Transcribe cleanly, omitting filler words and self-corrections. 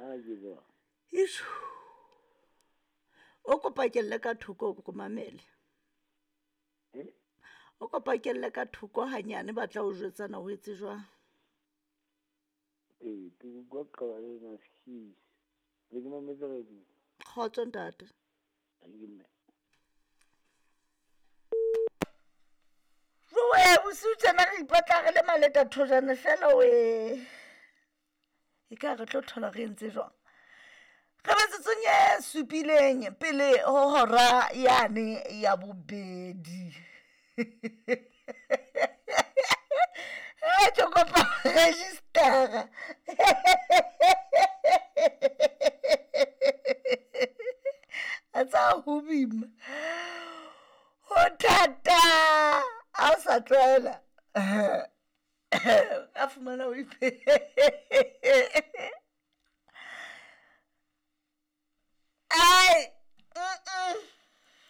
A ke bua. Ishu. O kopa kelle ka thoko o ko mamele. Eh? O kopa kelle ka thoko hanyane ba tla o jwetsana o etse jwang. Ee, ke utlwa qaba le maskisi. Be ke mametse radio. Kgotso ntate. Ha ke mme. Joe, bosiu tjena re ipatla re le maleta thojane fela we. E ka re tlo thola re entse jwang? Re metsotsong e supileng pele ho hora yane ya bobedi. Ke kopa registera. A tsa ho boima. Ho thata. Ha o sa tlwaela. Ka fumana o ipe.